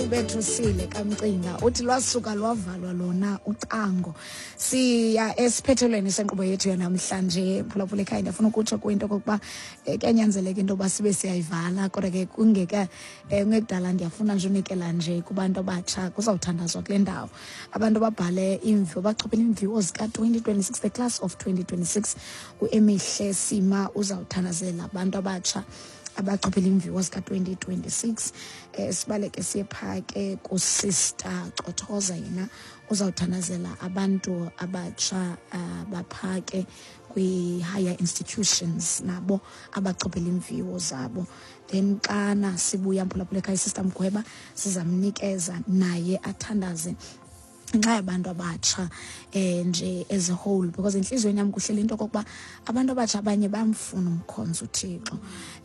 Bethusile kamcinga uthi lwasuka lwavalwa lona ucango. Siya esiphethelweni senkqubo yethu yanamhlanje, mphulaphula ekhaya. Ndiyafuna ukutsho kwinto okokuba kuyanyanzeleka into yoba sibe siyayivala, kodwa ke kungeka kungekudala ndiyafuna nje unikela nje kubantu abatsha. Kuzawuthandazwa kule ndawo, abantu ababhale iimviwo, bachophele iimviwo zika-2026, the class of 2026. Uemihle Sima uzawuthandazela abantu abatsha abachophela iimviwo zika-2026. Sibaleke siye phaa ke kuSister Cothoza, yena uzawuthandazela abantu abatsha baphaa ke kwi-higher institutions, nabo abachophela iimviwo zabo. Then xana sibuya, mphulaphula ekhaya, iSister Mgweba sizamnikeza naye athandaze ngenxa yabantu abatsha nje as a whole, because enhliziyweni yami kuhleli into okokuba abantu abatsha abanye bayamfuna umkhonzo uThixo.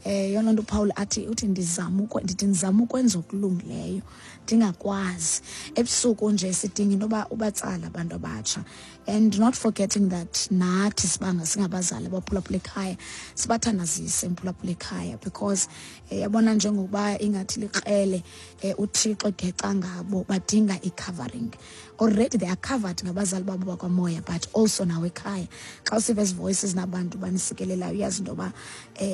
Yona nto uPaul athi, uthi ndizama, ndithi ndizama ukwenza okulungileyo, ndingakwazi. Ebusuku nje sidinga into yoba ubatsala abantu abatsha, and not forgetting that nathi sibanga singabazali abaphulaphula ekhaya, sibathandazise, mphulaphula ekhaya, because yabona njengokuba ingathi likrele uThixo geca ngabo, badinga i-covering. Already they are covered ngabazali babo bakwamoya, but also nawe ekhaya xa usiva ezi voices nabantu banisikelelayo, uyazi into yoba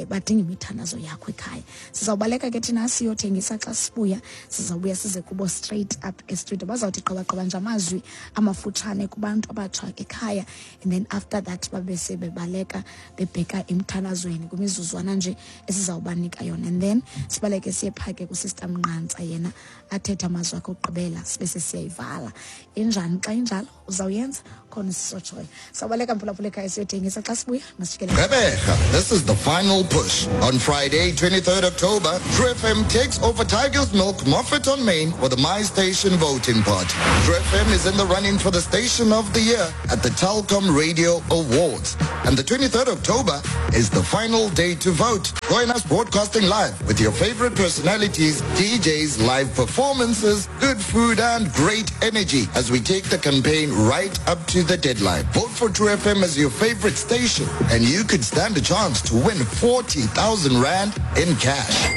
badinga imithandazo yakho ekhaya. Sizawubaleka ke thina siyothengisa. Xa sibuya, sizawubuya size kubo straight up estudio. Bazawuthi qabaqaba nje amazwi amafutshane kubantu abatsha ekhaya, and then after that babe sebebaleka bebheka emthandazweni kwimizuzwana nje esizawubanika yona. And then sibaleke siye phaa ke kuSister Mnqantsa, yena athethe amazwi akhe okugqibela, sibe sesiyayivala. Injani xa injalo? Uzawuyenza khona isisotshoyo. Sawubaleka, mphulaphula ekhaya, siyothengisa. Xa sibuya masijikele. Gqeberha, this is the final push. On Friday, 23rd October, True FM takes over Tiger's Milk Moffat on Main for the My Station voting party. True FM is in the running for the Station of the Year at the Telkom Radio Awards. And the 23rd October is the final day to vote. Join us broadcasting live with your favorite personalities, DJs, live performances, good food and great energy as we take the campaign right up to the deadline. Vote for True FM as your favorite station and you could stand a chance to win 40,000 Rand in cash.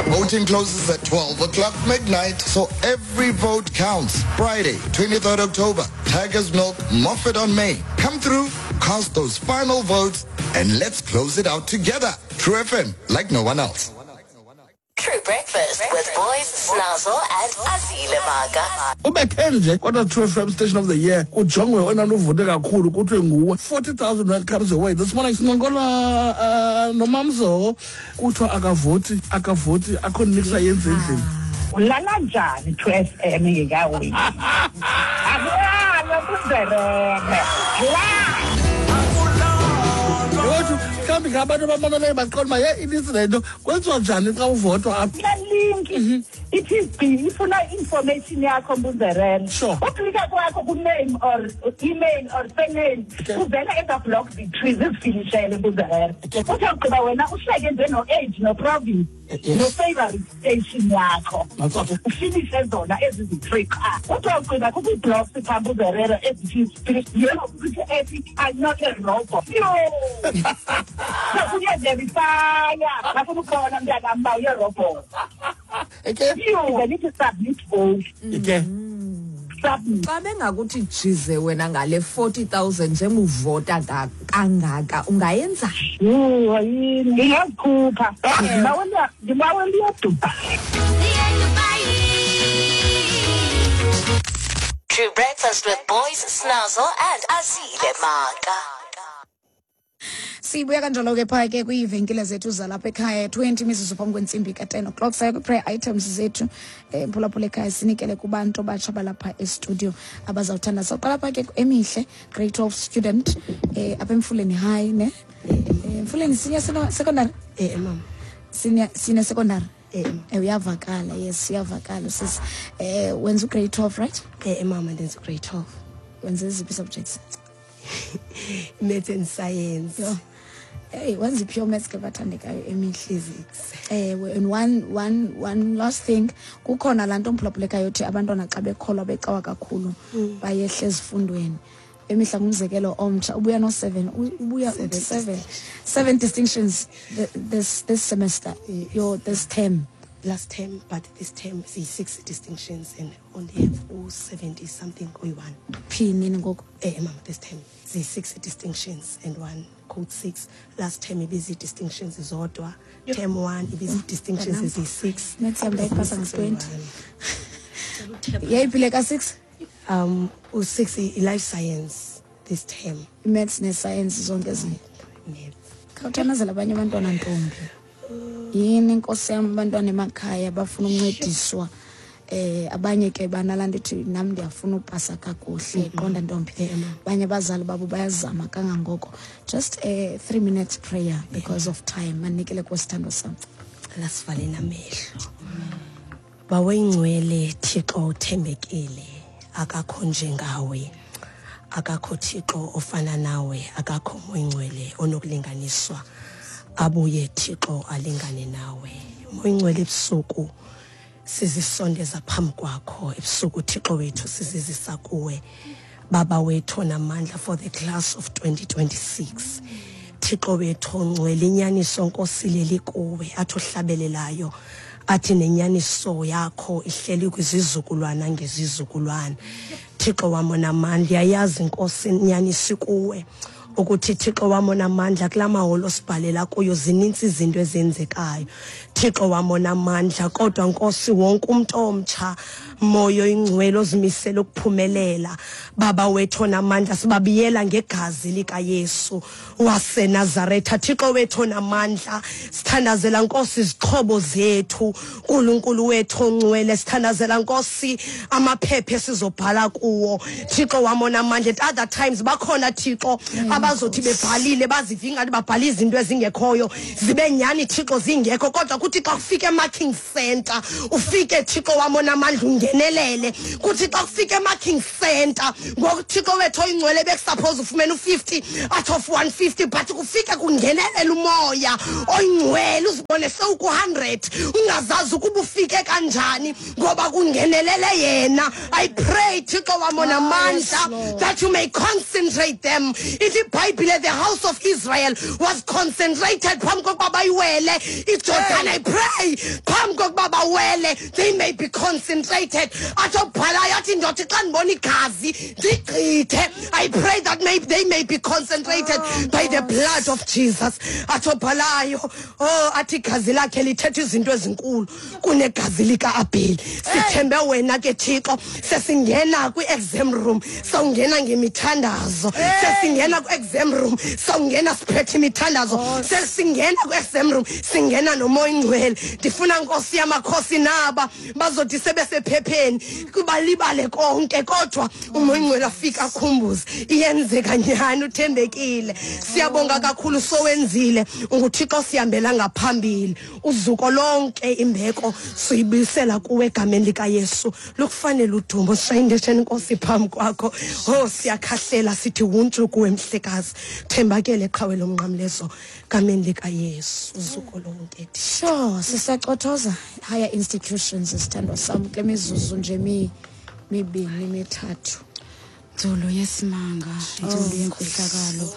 Voting closes at 12 o'clock midnight, so every vote counts. Friday, 23rd October, Tiger's Milk, Moffat on Main. Come through, cast those final votes, and let's close it out together. True FM, like no one else. True Breakfast with Boys, Snazzle and Azile Maka. Ubekhe nje kodwa True FM Station of the Year, kujongwe oyena nto uvote kakhulu, kuthiwe nguwe. 40,000 rand comes your way this morning. Sincokola noMamzo, kuthiwa akavoti, akavoti, akho niks ayenza endlini. Ulala njani True FM ingekawini? Akulalwa kunzerere la. Yothu mhlawumbi ngabantu abamameleyo baqonda uba ye inintsi le nto. Kwenziwa njani xa uvotwa apha? Kula link ithi gqi ifuna i-information yakho, mbunzerele. Uklika kwakho ku-name or email or surname, kuvela eza block zi-three zizifilishele, mbunzerele. Uthi awugqiba wena uhleke nje no-age, no-province, no-favorite station yakho. That's okay. Ufinishe zona ezi zi-three qha. Uthi awugqiba kukho ii-blocks phaa, mbuzerere, ezithi yebo kuthi ethi "I'm not a robot." Yho, uyaverifya, bafuna ukubona, mntanam, uba uyerobot. Yho, then ithi submit vote. Submit. Xa bengakuthi jize wena ngale 40,000 njenguvota kangaka, ungayenza? Yho, yini, ndingazikhupha, ndibawela iyaduba. True Breakfast with Boys, Snazzle and Azile Maka. Sibuya kanjalo ke phaa ke kwiivenkile zethu zalapha ekhaya, 20 mizuzu phambi kwentsimbi ka-10 o'clock. Saya kwi-prayer items zethu, mphulaphula ekhaya, sinikele kubantu abatsha balapha estudio abazawuthanda. Sawuqala phaa ke Emihle, grade 12 student, apha eMfuleni High, ne? Mfuleni Senior Secondary. Mama. Senior Secondary. Eh. Uyavakala, yes, uyavakala sis. Wenza ugrade 12, right? Mama, ndenza ugrade 12. Wenza eziphi subjects? Maths and science. Yho. Hey, wenza i-pure maths ke, bathandekayo, Emihle. Physics. Ewe, and one last thing, kukhona laa nto, mphulaphulekayo, yothi abantwana xa bekholwa becawa kakhulu bayehla ezifundweni. Emihla ngumzekelo omtsha, ubuya no-seven, ubuya uthi seven distinctions this semester. Yes. Yo, this term. Last term, but this term siyi-6 distinctions and only have u-70 something oyi-1. Phi nini ngoku? Mama, this term ziyi-6 distinctions and 1 code 6. Last term ibizi-distinctions zodwa. Term 1 ibizi-distinctions eziyi-6. Next time ndayipasa nge-20. Yeyiphi le ka-6? U-6 i-life science this term. I-maths ne-science zonke ezinye. Khawuthandazela abanye abantwana, ntombi. Yini inkosi yam, abantwana emakhaya bafuna uncediswa. Abanye ke banalaa nto ithi nam ndiyafuna upasa kakuhle, qonda ntombi. Abanye abazali babo bayazama kangangoko. Just a 3 minutes prayer because of time. Manikele kwesithando sam. Lasivale namehlo. Bawengcwele Thixo uthembekile, akakho njengawe. Akakho Thixo ofana nawe, akakho moyingcwele onokulinganiswa. Abuye Thixo alingane nawe. Moyingcwele ebusuku sizisondeza phambi kwakho, ebusuku Thixo wethu sizizisa kuwe. Baba wethu onamandla for the class of 2026. Thixo wethu ongcwele, inyaniso Nkosi leli kuwe, athi ohlabelelayo athi nenyaniso yakho ihleli kwizizukulwana ngezizukulwana. Thixo wam onamandla, uyayazi Nkosi inyaniso kuwe ukuthi Thixo wam onamandla kula maholo sibhalela kuyo zinintsi izinto ezenzekayo. Thixo wam onamandla, kodwa Nkosi wonke umntu omtsha moyo ingcwele ozimisele ukuphumelela, Baba wethu onamandla sibabiyela ngegazi likaYesu waseNazaretha. Thixo wethu onamandla, sithandazela Nkosi izixhobo zethu, uNkulunkulu wethu ongcwele, sithandazela Nkosi amaphepha esizobhala kuwo. Thixo wam onamandla, at other times bakhona Thixo abazothi bebhalile bazive ingathi babhala izinto ezingekhoyo, zibe nyani Thixo zingekho, kodwa kuthi xa kufika e-marking center ufike Thixo wam onamandla ungenelele. Kuthi xa kufika e-marking center ngoku Thixo wethu oyingcwele bekusuppose ufumene u-50 out of 150, but kufike kungenelela umoya oyingcwele uzibone sewuku-100 ungazazi ukuba ufike kanjani ngoba kungenelele yena. I pray Thixo wam onamandla that you may concentrate them. Ithi iBhayibhile, the house of Israel was concentrated phambi kokuba bayiwele iJordan. I pray phambi kokuba bawele they may be concentrated. Athi obhalayo athi ndothi xa ndibona igazi ndigqithe. I pray that they may be concentrated by the blood of Jesus. Athi obhalayo, oh, athi igazi lakhe lithetha izinto ezinkulu kunegazi lika-Abheli. Sithembe wena ke Thixo, sesingena kwi-exam room sawungena ngemithandazo, sesingena kwi-exam room sawungena siphethe imithandazo, sesingena kwi-exam room singena nomoya ingcwele. Ndifuna Nkosi yamakhosi naba bazothi sebesephepheni kubalibale konke, kodwa umoya ingcwele afika akhumbuze iyenzeka nyhani, uthembekile. Siyabonga kakhulu sowenzile, unguThixo sihambela ngaphambili. Uzuko lonke imbeko siyibuyisela kuwe egameni likaYesu. Lukufanele udumo, sishayindesheni Nkosi phambi kwakho. Oh, siyakhahlela sithi wuntshu kuwe mhlekazi. Thembakele qhawe lomnqamlezo egameni likaYesu. Uzuko lonke. Sure, sisacothoza higher institutions sithandwa sam kule mizuzu nje mibini mithathu. Nzulu yesimanga, nzulu yemfihlakalo,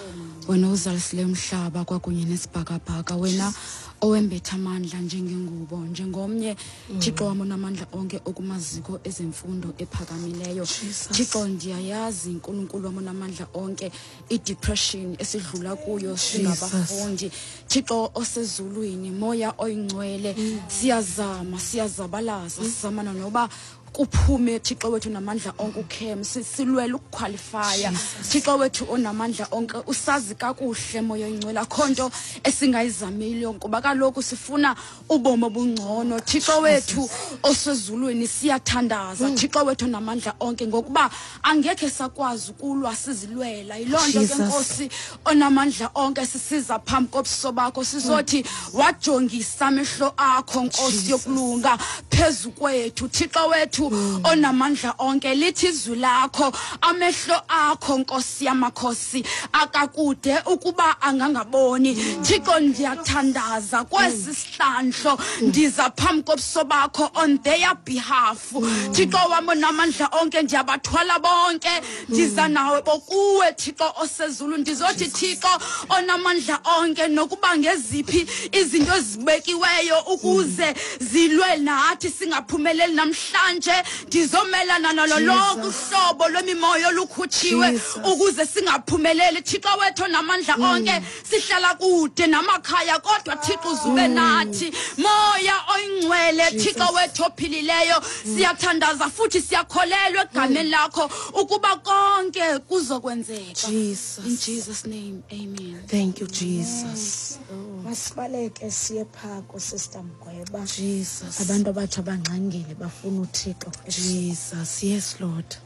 wena uzalisile umhlaba kwakunye nesibhakabhaka, wena owembetha amandla njengengubo, njengomnye Thixo wam onamandla onke okumaziko ezemfundo ephakamileyo. Thixo, ndiyayazi uNkulunkulu wam onamandla onke i-depression esidlula kuyo singabafundi. Thixo osezulwini, moya oyingcwele, siyazama, siyazabalaza, sizamana noba kuphume Thixo wethu namandla onke ukhem, silwele ukuqualifya. Thixo wethu onamandla onke usazi kakuhle moya oyingcwele, akho nto esingayizamile ngoba kaloku sifuna ubomi obungcono. Thixo wethu osezulwini, siyathandaza Thixo wethu onamandla onke ngokuba angekhe sakwazi ukulwa sizilwela. Yiloo nto ke Nkosi onamandla onke sisiza phambi kobuso bakho sizothi wajongisa amehlo akho Nkosi yokulunga phezu kwethu. Thixo wethu wethu onamandla onke, lithi izwi lakho, amehlo akho Nkosi yamakhosi akakude ukuba angangaboni. Thixo, ndiyathandaza kwesi sihlandlo, ndiza phambi kobuso bakho on their behalf. Thixo wam onamandla onke, ndiyabathwala bonke, ndiza nawe bokuwe Thixo osezulu. Ndizothi Thixo onamandla onke, nokuba ngeziphi izinto ezibekiweyo ukuze zilwe nathi singaphumeleli namhlanje, ndizomelana nalo lonke uhlobo lwemimoya olukhutshiwe ukuze singaphumeleli. Thixo wethu onamandla onke, sihlala kude namakhaya, kodwa Thixo uzube nathi. Moya oyingcwele, Thixo wethu ophilileyo, siyathandaza futhi siyakholelwa egameni lakho ukuba konke kuzokwenzeka. Jesus. In Jesus name, amen. Thank you, Jesus. Masibaleke siye phaa kuSister Mgweba. Jesus. Abantu abatsha bangxangile, bafuna uThixo. Jesus. Yes, Lord.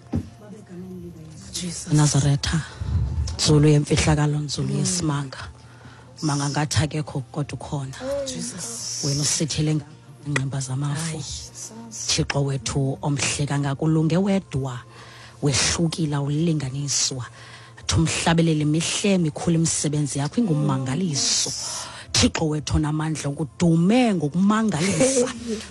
Jesus. Nazaretha, nzulu yemfihlakalo, nzulu yesimanga, manga ngathi akekho kodwa ukhona. Jesus. Wena usithele ngqimba zamafu, Thixo wethu omhle kangaka, ulunge wedwa, wehlukile, awulinganiswa. Athi umhlabeleli, mihle mikhulu imisebenzi yakho, ingummangaliso. Thixo wethu onamandla, kudume ngokumangalisa,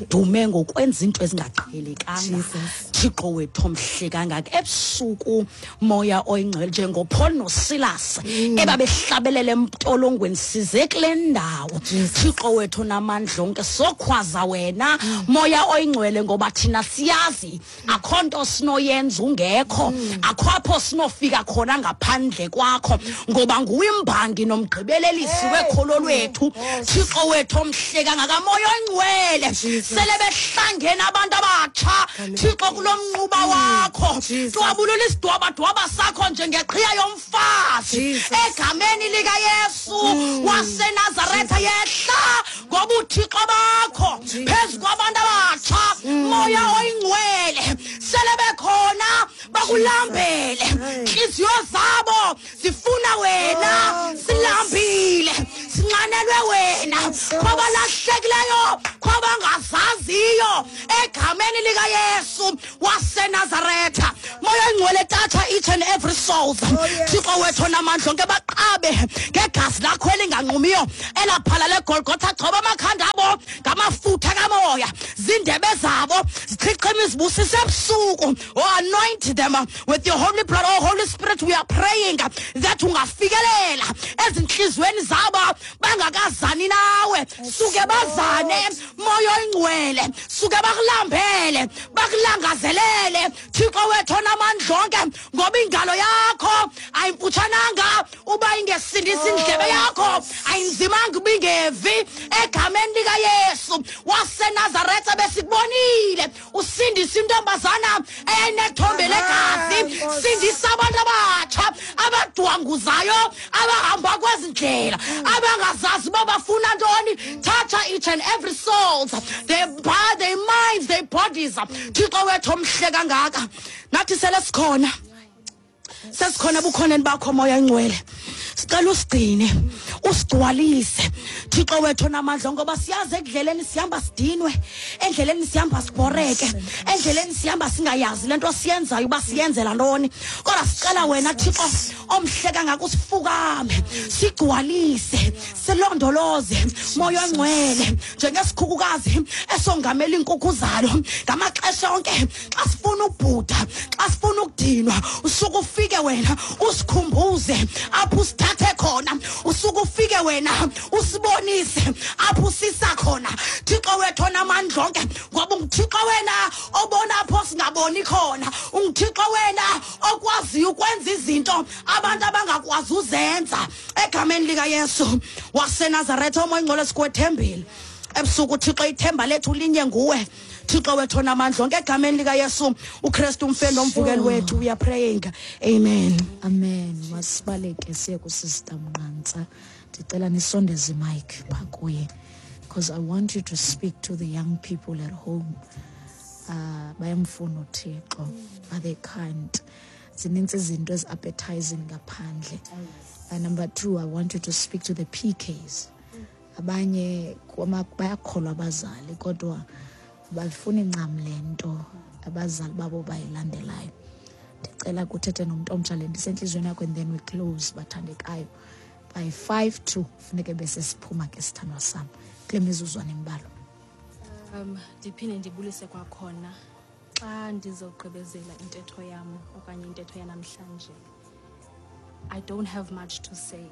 dume ngokwenza into ezingaqhelekanga. Thixo wethu omhle kangaka, ebusuku, Moya oyingcwele, njengoPaul noSilas ebabehlabelele emtolongweni, size kule ndawo, Thixo wethu onamandla onke, sokhwaza wena, Moya oyingcwele, ngoba thina siyazi akho nto sinoyenza ungekho, akho apho sinofika khona ngaphandle kwakho, ngoba nguwe imbangi nomgqibelelisi wekholo lwethu. Thixo wethu omhle kangaka, Moya oyingcwele, sele behlangene abantu abatsha, Thixo, kulo mnquba wakho, twabulula isidwabadwaba sakho njengeqhiya yomfazi egameni likaYesu waseNazaretha. Yehla ngobuthixo bakho phezu kwabantu abatsha, Moya oyingcwele. Sele bekhona bakulambele, ntliziyo zabo zifuna wena. Silambile, sinxanelwe wena, kwabalahlekileyo, kwabangazaziyo, egameni likaYesu waseNazaretha. Moya oyingcwele, touch each and every soul. Thixo wethu onamandla onke, baqabe ngegazi lakho elinganqumiyo elaphalala eGolgotha. Gcoba amakhanda abo ngamafutha kamoya, zindebe zabo zichichima izibusiso ebusuku. Oh, anoint them with your holy blood. Oh, Holy Spirit, we are praying that ungafikelela ezinhliziyweni zabo bangakazani nawe, suke bazane, Moya oyingcwele, suke bakulambele, bakulangazelele, Thixo wethu onamandla onke, ngoba ingalo yakho ayimfutshananga uba ingesindisi, indlebe yakho ayinzimanga uba ingevi. Egameni likaYesu waseNazaretha, besikubonile usindisa intombazana eyayinethombe legazi, sindisa abantu abatsha abadwanguzayo, abahamba kwezi ndlela, abangazazi uba bafuna ntoni. Touch each and every souls, their minds, their bodies. Thixo wethu omhle kangaka, nathi sele sikhona, sesikhona bukhoneni bakho, Moya Ngcwele. Sicela usigcine, usigcwalise, Thixo wethu onamandla, ngoba siyazi ekudleleni sihamba sidinwe, endleleni sihamba sibhoreke, endleleni sihamba singayazi le nto siyenzayo uba siyenzela ntoni. Kodwa sicela wena, Thixo omhle kangaka, usifukame, sigcwalise, silondoloze, Moya ongcwele, njengesikhukukazi esongamela iinkukhu zalo ngamaxesha onke. Xa sifuna ubhuda, xa sifuna ukudinwa, usuke ufike wena usikhumbuze apho usithathe khona, usuke ufike wena usibonise apho usisa khona, Thixo wethu onamandla onke, ngoba unguThixo wena obona apho singaboni khona, unguThixo wena okwaziyo ukwenza izinto abantu abangakwazi uzenza. Egameni likaYesu waseNazaretha, oMoya Ingcwele, sikwethembile ebusuku, Thixo. Ithemba lethu linye nguwe, Thixo wethu onamandla onke, egameni likaYesu uKristu, umfeli nomvukeli wethu, we are praying, amen. Amen. Masibaleke siye kuSister Mnqantsa. Ndicela nisondeze imic phaa kuye, because I want you to speak to the young people at home. Bayamfuna uThixo but they can't. Zinintsi izinto ezi-appetizing ngaphandle. Number two, I want you to speak to the PKs. Abanye bayakholwa abazali, kodwa bafuna incam le nto. abazali babo bayilandelayo. Ndicela kuthethe nomntu omtsha le ndisentliziyweni yakho, and then we close, bathandekayo. By 1:55 funeke bese siphuma ke, sithandwa sam, kule mizuzwana embalwa. Ndiphinde ndibulise kwakhona. Xa ndizogqibezela intetho yam okanye intetho yanamhlanje, I don't have much to say.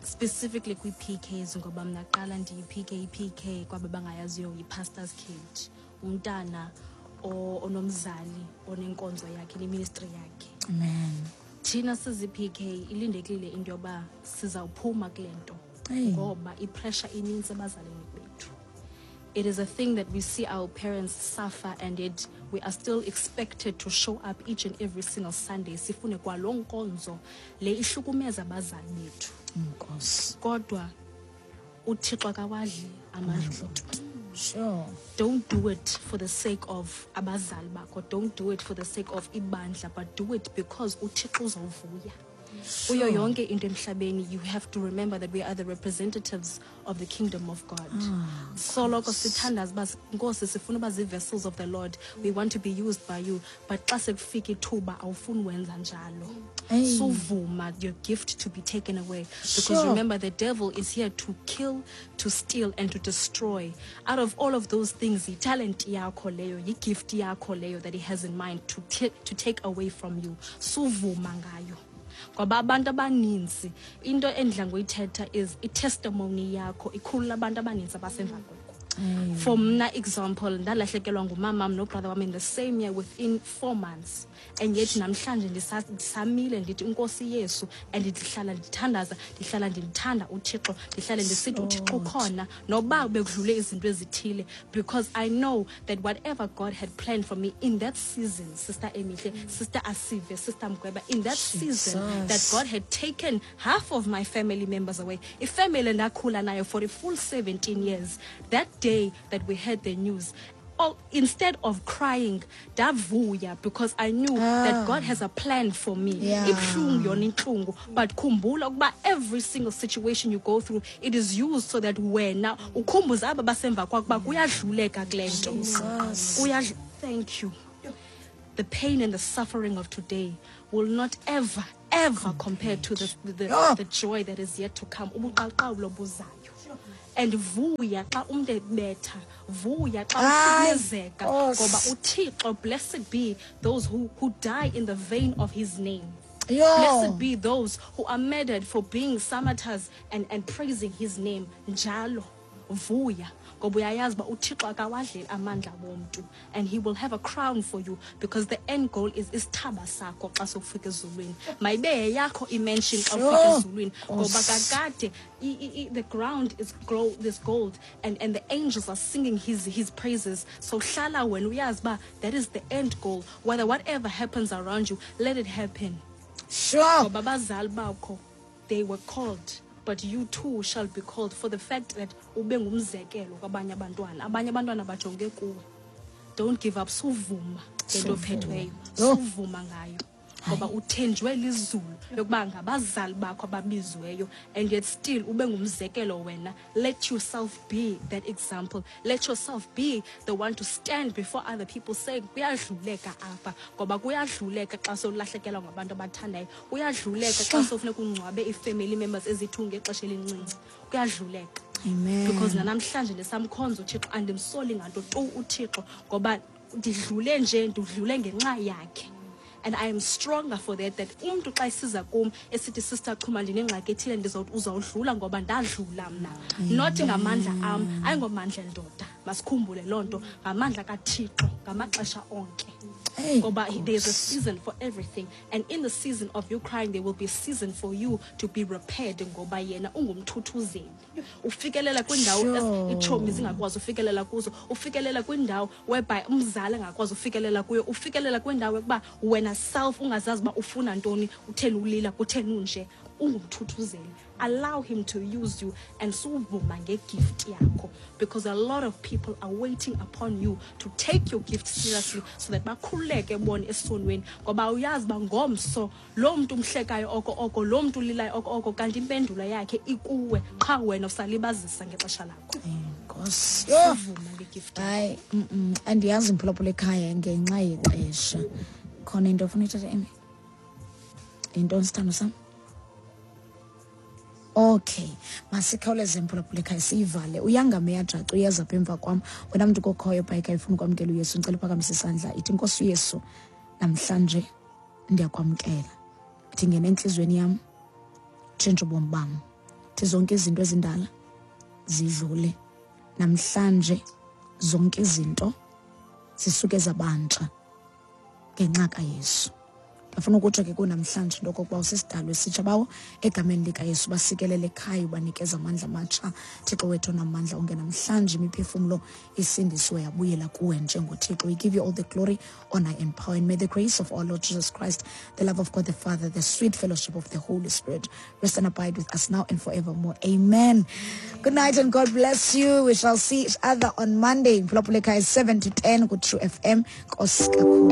Specifically kwi-PKs, ngoba mna qala ndiyi-PK. I-PK, kwaba bangayaziyo, yi-pastor's kid, umntana onomzali onenkonzo yakhe, neministry yakhe. Amen. Thina sizi-PK ilindekile into yoba sizawuphuma kule nto, Hey. ngoba ipressure inintsi ebazalini bethu. It is a thing that we see our parents suffer, and yet we are still expected to show up each and every single Sunday, sifune kwaloo nkonzo le ihlukumeza abazali bethu. Nkosi. Kodwa uThixo akawadli amandla. Don't do it for the sake of abazali bakho, don't do it for the sake of ibandla, but do it because uThixo uzawuvuya. Kuyo yonke into emhlabeni, you have to remember that we are the representatives of the kingdom of God. Soloko sithandaza uba, Nkosi, sifuna uba zii-vessels of the Lord, we want to be used by you, but xa sekufika ithuba awufuni wenza njalo. Hey. Suvuma your gift to be taken away, because remember, the devil is here to kill, to steal and to destroy. Out of all of those things, yitalent yakho leyo, yigift yakho leyo that he has in mind to take away from you. Suvuma ngayo, ngoba abantu abaninzi, into endidla ngoyithetha is itestimony yakho ikhulula abantu abaninzi abasemva kwakho. For mna, example, ndalahlekelwa ngumamam nobrother wam in the same year within 4 months, and yet namhlanje ndisamile, ndithi inkosi Yesu, and ndihlala ndithandaza, ndihlala ndimthanda uThixo, ndihlale ndisithi uThixo ukhona noba bekudlule izinto ezithile, because I know that whatever God had planned for me in that season, Sister Emihle, Sister Asive, Sister Mgweba, in that season that Jesus. God had taken half of my family members away, ifamily endakhula nayo for the full 17 years, that day that we heard the news, oh, instead of crying, ndavuya, because I knew that God has a plan for me. Ibuhlungu yona intlungu, but khumbula ukuba every single situation you go through, it is used so that wena ukhumbuze aba basemva kwakho uba kuyadluleka kule nto. Thank you. The pain and the suffering of today will not ever, ever compare to the joy that is yet to come, ubuqaqawulo buzayo. And vuya xa umntu ebetha, vuya xa Hayi, uhlukumezeka, Nkosi. ngoba uThixo, blessed be those who die in the vein of his name. Yo. Blessed be those who are murdered for being samaters and praising his name njalo. Vuya ngoba uyayazi uba uThixo akawadleli amandla womntu, and he will have a crown for you, because the end goal is isithaba sakho xa sowufika ezulwini. Mayibe yeyakho imansion xa ufika ezulwini, ngoba Nkosi. kakade the ground is grow this gold, and the angels are singing his praises. So hlala wena uyazi uba that is the end goal. Whether whatever happens around you, let it happen, ngoba abazali bakho, they were called, but you too shall be called, for the fact that ube ngumzekelo kwabanye abantwana. Abanye abantwana bajonge kuwe. Don't give up. Suvuma ngento ophethweyo. Yho. Suvuma ngayo, ngoba uthenjwe lizulu yokuba ngabazali bakho ababiziweyo, and yet still ube ngumzekelo wena. Let yourself be that example. Let yourself be the one to stand before other people saying kuyadluleka apha, ngoba kuyadluleka xa sowulahlekelwa ngabantu abathandayo, kuyadluleka xa sowufuneka ungcwabe ii-family members eziyi-2 ngexesha elincinci. Kuyadluleka. Amen. Because nanamhlanje ndisamkhonza uThixo, andimsoli nganto tu uThixo, ngoba ndidlule nje, ndidlule ngenxa yakhe, and I am stronger for that, that umntu xa esiza kum esithi, "Sister Chuma, ndinengxaki ethile," ndizawuthi uzawudlula, ngoba ndadlula mna, not ngamandla am, ayingomandla endoda. Masikhumbule loo nto, ngamandla kaThixo ngamaxesha onke. Hey, Ngoba there's a season for everything, and in the season of you crying, there will be a season for you to be repaired, ngoba yena ungumthuthuzeli, ufikelela kwindawo iitshomi zingakwazi ufikelela kuzo, ufikelela kwindawo whereby umzali angakwazi ufikelela kuyo, ufikelela kwindawo yokuba wena self ungazazi uba ufuna ntoni, utheni ulila, kutheni unje. Ungumthuthuzeli. Allow him to use you and suvuma ngegift yakho, because a lot of people are waiting upon you to take your gift seriously so that bakhululeke bona esonweni, ngoba uyazi uba ngomso loo mntu umhlekayo oko oko, loo mntu ulilayo oko oko, kanti impendulo yakhe ikuwe qha wena usalibazisa ngexesha lakho. Nkosi. Suvuma ngegift. Hayi, andiyazi mphulaphula ekhaya ngenxa yexesha. Khona into ofuna uyithetha, Amy? Yintoni, sithando sam? Okay, masikhawuleze mphulaphula ekhaya siyivale. Uyangame yajaca uyeza apha emva kwam. Wena mntu kokhoyo bhayika ifuna ukwamkela uYesu, ndicela uphakamise isandla. Ithi, Nkosi uYesu, namhlanje ndiyakwamkela. Ithi ngena entliziyweni yam, tshintsha ubomi bam. Ithi zonke izinto ezindala zidlule. Namhlanje zonke izinto zisuke zabantsha ngenxa kaYesu. Ndifuna ukutsho ke kunamhlanje into okokuba usisidalwa esitsha, bawo, egameni likaYesu basikelele ekhaya, ubanikeza amandla amatsha. Thixo wethu onamandla onke, namhlanje imiphefumlo isindisiwe yabuyela kuwe njengoThixo. We give you all the glory, honor and power, and may the grace of our Lord Jesus Christ, the love of God the Father, the sweet fellowship of the Holy Spirit rest and abide with us now and forevermore. Amen. Good night and God bless you. We shall see each other on Monday. Mphulaphula ekhaya, 7 to 10 ku-True FM. Nkosi kakhulu.